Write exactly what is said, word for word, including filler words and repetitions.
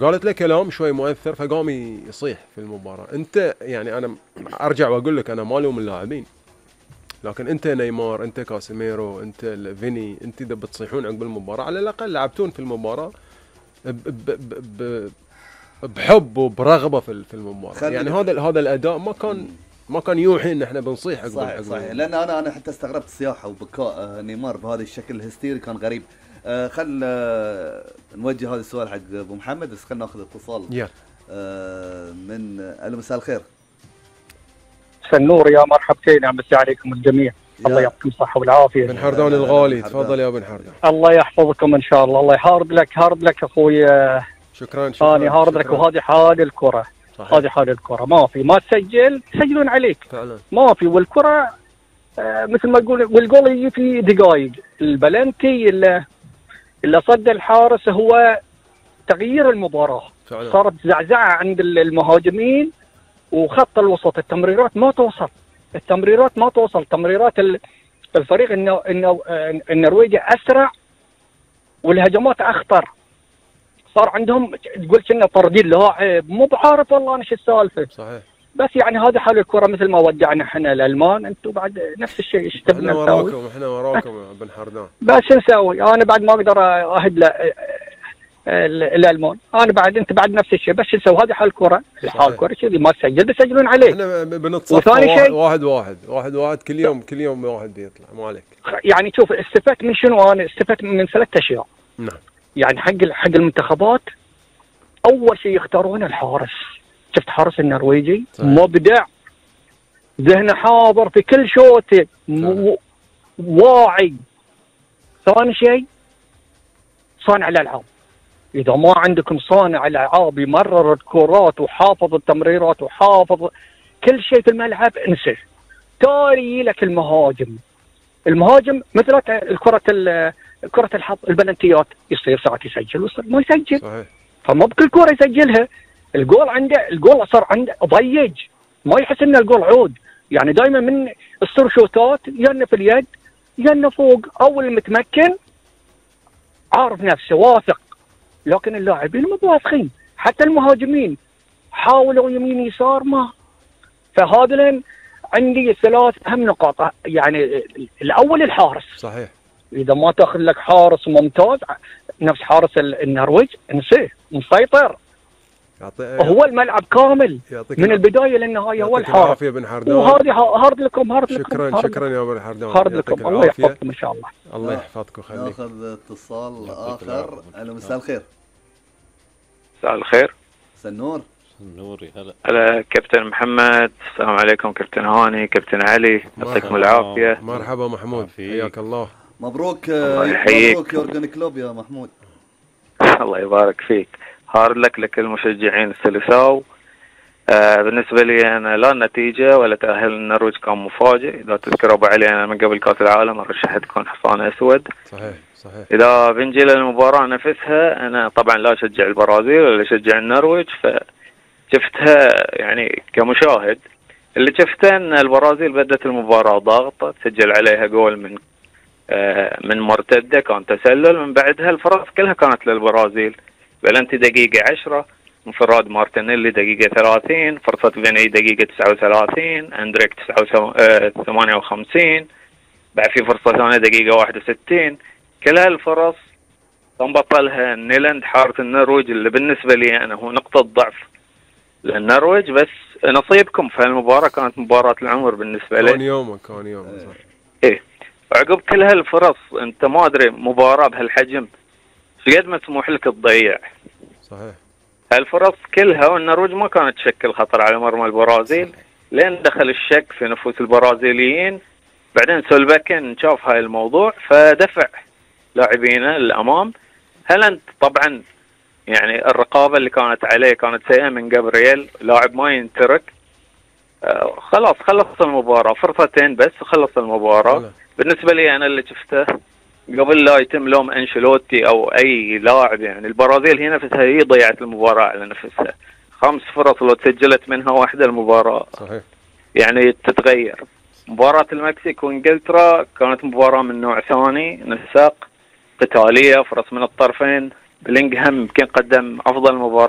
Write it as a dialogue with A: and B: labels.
A: قالت له كلام شوي مؤثر فقام يصيح في المباراة. انت يعني انا ارجع واقول لك انا ما الوم اللاعبين، لكن انت نيمار، انت كاسيميرو، انت فيني، انت اذا بتصيحون عقب المباراة على الاقل لعبتون في المباراة ب ب ب ب بحب وبرغبة في في المباراة. يعني هذا هذا الاداء ما كان ما كان يوحي ان احنا بنصيح عقب
B: صحيح صحيح، لان انا انا حتى استغربت الصياحة وبكاء نيمار بهذا الشكل الهستيري، كان غريب. آه خل آه نوجه هذا السؤال حق ابو محمد، بس خلينا ناخذ اتصال
A: yeah.
B: آه من الو مساء الخير.
C: مساء النور، يا مرحبتين، امسي عليكم الجميع. الله يعطيكم الصحه والعافيه.
A: بن حردان الغالي، تفضل يا بن حردان.
C: الله يحفظكم ان شاء الله. الله يهارد لك، هارد لك اخوي.
A: شكرا شكرا.
C: انا هارد لك، وهذه حال الكره، هذه حال الكره، ما في ما تسجل تسجلون عليك
A: فعلا.
C: ما في. والكره آه مثل ما تقول، والجول يجي في دقائق. البلنتي اللي اللي صد الحارس هو تغيير المباراه فعلا. صارت زعزعه عند المهاجمين وخط الوسط، التمريرات ما توصل، التمريرات ما توصل تمريرات الفريق انه انه النرويج اسرع والهجمات اخطر. صار عندهم تقول كنا طاردين لاعب، مو بعارف والله انا شو السالفه.
A: صحيح.
C: بس يعني هذا حال الكره، مثل ما ودعنا احنا الالمان، انتم بعد نفس الشيء. ايش تبنا
A: نسوي؟ احنا وراكم، احنا وراكم يا بن حردان.
C: بس شو نسوي؟ انا بعد ما اقدر اهد له الالمان، انا بعد انت بعد نفس الشيء. بس شو نسوي؟ هذه حال الكره، حال الكره كذي، ما تسجل بيسجلون عليك.
A: احنا بنتصفى واحد, واحد واحد واحد واحد كل يوم، كل يوم واحد بيطلع، مو عليك.
C: يعني شوف استفدت من شنو؟ انا استفدت من ثلاث اشياء.
A: نعم.
C: يعني حق حق المنتخبات، اول شيء يختارون الحارس. شفت حارس النرويجي مبدع، ذهنه حاضر في كل شوطه، واعي. ثاني شيء صانع الالعاب. اذا ما عندكم صانع العاب يمرر الكرات وحافظ التمريرات وحافظ كل شيء في الملعب، انسى. تالي لك المهاجم، المهاجم مثل الكرة كرة الحظ، البلنتيات، يصير ساعات يسجل ويصير ما يسجل.
A: صحيح.
C: فما بكل كرة يسجلها. الجول عنده، الجول صار عنده ضيج، ما يحس ان الجول عود. يعني دائما من السر شوتات يا في اليد يا فوق، او المتمكن عارف نفسه واثق. لكن اللاعبين مو واثقين، حتى المهاجمين حاولوا يمين يسار ما. فهذا عندي ثلاث اهم نقاط. يعني الاول الحارس.
A: صحيح.
C: اذا ما تاخذ لك حارس ممتاز نفس حارس النرويج، انسيه، مسيطر. هو الملعب كامل من البدايه للنهايه، هو الحارس. وهذه هارد لكم، هارد لكم.
A: شكرا هارد شكرا يا ابو حردان،
C: هارد لكم. الله يحفظكم ان شاء الله.
A: الله يحفظكم. خليك.
B: ناخذ اتصال اخر. الو مساء الخير.
D: مساء الخير.
B: مساء النور.
E: النور يا هلا.
D: هلا كابتن محمد، السلام عليكم. كابتن هاني، كابتن علي، يعطيكم العافيه.
A: مرحبا محمود، حياك الله.
B: مبروك مبروك يورجن كلوب يا محمود.
D: الله يبارك فيك. هارد لك لكل المشجعين السلساو. آه بالنسبه لي انا لا النتيجه ولا تاهل النرويج كان مفاجئ. اذا تذكر ابو علي انا من قبل كاس العالم رشحت تكون حصان اسود.
A: صحيح صحيح.
D: اذا بنجي للمباراه نفسها، انا طبعا لا اشجع البرازيل ولا اشجع النرويج، فشفتها يعني كمشاهد. اللي شفته ان البرازيل بدت المباراه ضاغطه، تسجل عليها جول من آه من مرتده، كان تسلل. من بعدها الفرص كلها كانت للبرازيل. بلنتي دقيقه عشرة، انفراد مارتينيلي دقيقه ثلاثين، فرصه فيني دقيقه تسعة وثلاثين، اندريك ثمانية وخمسين، بعد في فرصه ثانيه دقيقه واحد وستين. كل هالفرص كان بطلها نيلاند حارس النرويج، اللي بالنسبه لي انا هو نقطه ضعف للنرويج. بس نصيبكم في هالمباراه، كانت مباراه العمر بالنسبه لي.
A: كان يومك كان يومك صح.
D: ايه. وعقب كل هالفرص انت ما ادري مباراه بهالحجم قد ما تسمح لك تضيع.
A: صحيح.
D: هالفرص كلها والنرويج ما كانت تشكل خطر على مرمى البرازيل، لين دخل الشك في نفوس البرازيليين. بعدين سولباكن شاف هاي الموضوع فدفع لاعبينه للامام. هل انت طبعا يعني الرقابه اللي كانت عليه كانت سيئه من جابرييل، لاعب ما ينترك. آه خلاص خلص المباراه، فرصتين بس وخلص المباراه. أولا. بالنسبه لي انا اللي شفته قبل لا يتم لوم انشيلوتي او اي لاعب، يعني البرازيل هي نفسها هي ضيعت المباراه على نفسها. خمس فرص لو تسجلت منها واحده المباراه
A: صحيح
D: يعني تتغير. مباراه المكسيك وانجلترا كانت مباراه من نوع ثاني، نساق قتاليه، فرص من الطرفين، بلينغهام يمكن قدم افضل مباراه